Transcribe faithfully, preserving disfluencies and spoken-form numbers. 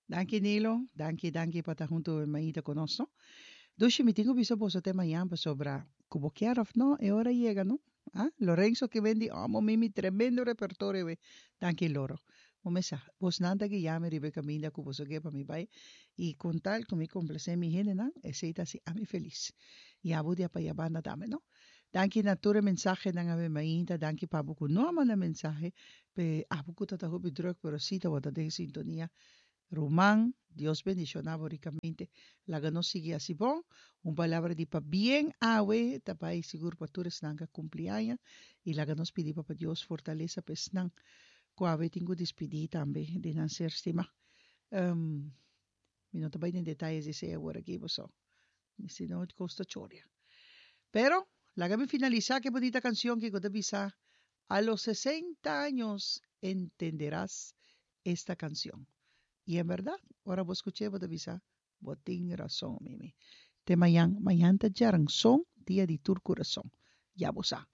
Danki, Nilo. Danki, danki pa ta huntu mainta ku nos, no? Dushi, mi tin ku bisa boso te mañan pasobra ku bo kier òf no, e ora yega, no? Ah, Lorenzo ke bendi amo mimi tremendo repertorio we. Danki, Loro. Bo mesa, bosnan ta guia mi riba e kaminda ku boso ke pa mi bai i kon tal ku mi komplasé mi hendenan, esei ta hasi ami felis. I abo di apaya banda tambe, no? Danki na tur e mensahenan awe mainta, danki pa abo ku no a manda mensahe, p'e abo ku ta ta hopi drùk pero si tabata den sintonia. Ruman, Dios bendiciona bo ricamente. Laga nos sigui haci bon. Un palabra di pabien awe ta bay sigur pa tur esnan cu a cumpli aña y laga nos pidi Papa Dios fortaleza pa esnan cu awe tin cu dispidi tambe di nan ser stima. Um, mi no ta bay den detayes di esey awor aki boso, si no cos ta choria. Pero, laga mi finalisa cu e bunita cancion ki cu ta bisa, A los sesenta años entenderás esta canción. Y en berdad, ora bo scuch'é bo ta bisa, Bo tin rason, Mimi. Te mañan, mañan ta djaranson, dia di tur curason. Ya bo sa.